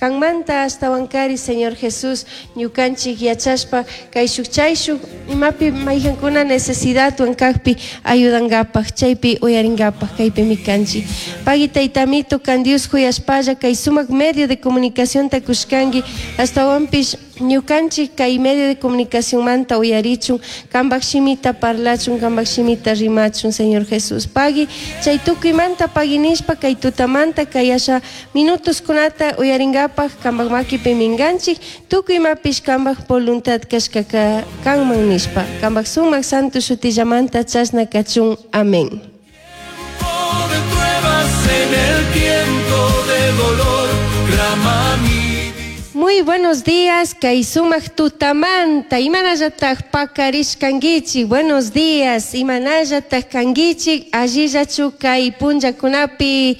Kanmanta ashtahuancari, Señor Jesús, ñucanchij yachashpa caishuj chaishuj imapi maijancuna necesidadhuan cajpi ayudangapaj, chaipi uyaringapaj caipimi canchij. Pagui Taitamito, can Dios juyashpalla cai sumaj medio de comunicacionta cushcangui, ashtahuanpish ñucanchij cai medio de comunicacionmanta uyarichun, cambaj shimita parlachun, cambaj shimita rimachun, Señor Jesús. Pagui, chai tucuimanta pagui nishpa cai tutamanta cai asha minutoscunata uyaringapaj cambaj maquipi minganchij, tucui imapish cambaj voluntad cashcaca canman nishpa, cambaj sumaj santo shutillamanta chashna cachun. Amén. Tiempo de pruebas, en el tiempo de dolor, clama mi Muy buenos días, kay sumaq tutamanta, imanallataj pakarishkankichik. Buenos días, imanallataj kankichik, allillachu kay punllakunapi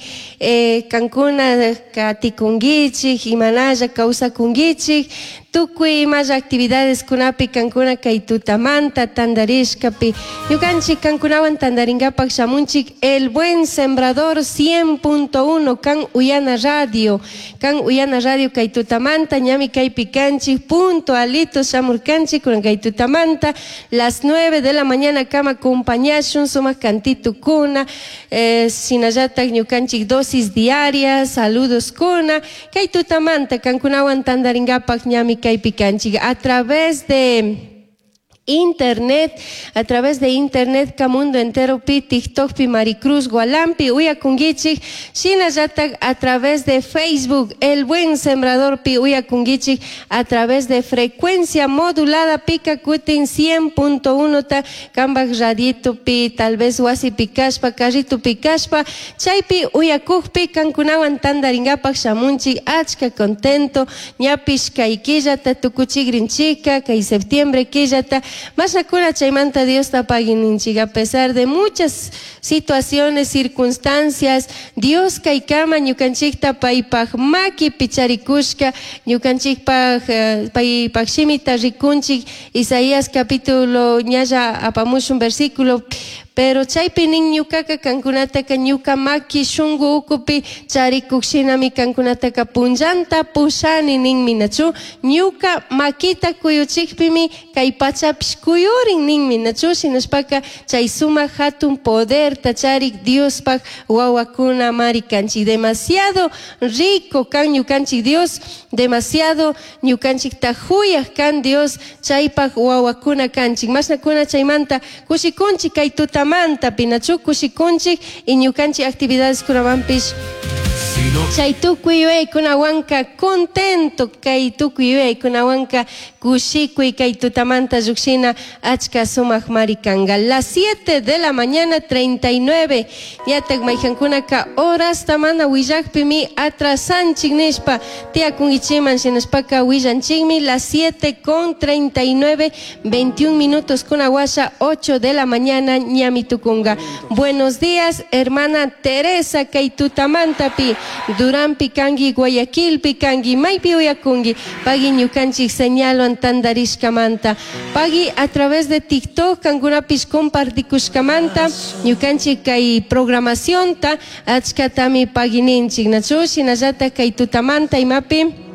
kankuna katikunkichik, imanalla kawsakunkichik, tukuy imalla actividadeskunapi kankuna kay tutamanta tandarishkapi. Ñukanchik kankunawan tandarinkapak shamunchik El Buen Sembrador 100.1 kan Uyana Radio. Kan Uyana Radio kay tutamanta ñami kaypi kanchik puntualito shamurkanchik kunan kay tutamanta las 9 de la mañana kama acompañashun sumaq kantitukuna, shinallatak ñukanchik dosis diaria, saludos kuna kay tutamanta kankunawan tandarinkapak ñami kaypi kanchik a través de internet, a través de internet ka mundo entero pi TikTok pi Maricruz Gualampi uyakunkichik, shinallatak a través de Facebook El Buen Sembrador pi uyakunkichik, a través de frecuencia modulada pika kutin 100.1 ta kambaj radito pi tal vez wasipi kashpa, carrito pi kashpa, chaypi uyakukpi kankunawan tandarinkapak shamunchik achka contento, ñapish kay killata tukuchikrinchika, kay septiembre killata, mashnakuna chaymanta Diosta pagui ninchik, a pesar de muchas situaciones, circunstancias, Dios kaykama ñukanchikta paypaj makipi charikushka, ñukanchikpaj paypaj shimita rikunchik, Isaías capítulo ñalla apamushun versículo, pero chaypi nin ñukaka kankunataka ñuka maki shunku ukupi charikuk shinami kankunataka punllanta pushani ninmi, nachu ñuka makita kuyuchikpimi kay pachapish kuyurin ninmi, nachu shinashpaka chay sumak hatun poderta charik Diospaj wawakuna mari kanchik, demasiado rico kan ñukanchik Dios, demasiado ñukanchikta juyaj kan Dios, chaypaj wawakuna kanchik, mashnakuna chaymanta kushikunchik kay tutamanta pinachu kushikunchik y ñukanchik actividades kunawanpish chay tukuy yuyaykunawanka contento kay tukuy yuyaykunawanka kushikuy kay tutamanta llukshina achka sumak mari kanga. Las 7 de la mañana 39 ñatak mayjankunaka horasta mana willakpimi atrasanchik nishpa tiyakunkichikman shinashpaka willanchikmi las 7 con 39, 21 minutos kunawasha 8 de la mañana ñami tukunga. Buenos días, hermana Teresa kay tutamantapi, Duranpi kangi, Guayaquilpi kangi, maypi uyakungi, pagui ñukanchik señalwan tandarishkamanta, pagui a través de TikTok kankunapish compartikushkamanta ñukanchik kay programacionta achkatami pagui ninchik, nachu shinallatak kay tutamanta imapi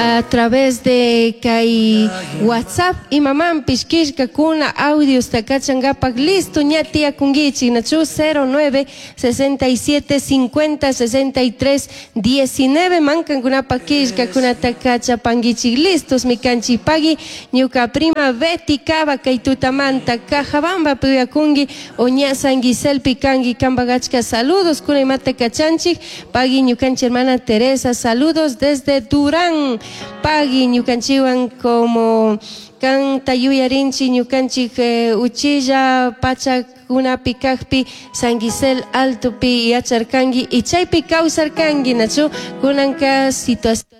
a través de kay WhatsApp imamanpish killkakuna audiosta kachankapak listo ña tiyakunkichik, nachu 09 67 50 63 19 mankankunapak killkakunata kachapankichik listos mi kanchik. Pagui ñuka prima Betty Cava kay tutamanta Cajabambapi uyakunki o ña San Giselpi kanki kampak achka saludos kuna imata kachanchik. Pagui ñukanchik hermana Teresa, saludos desde Durán. Pagui ñukanchikwan como kanta yuyarinchik ñukanchik uchilla pachakunapi kajpi San Gisel Altopi yacharkanki y chaypi kawsarkanki, nachu kunanka situación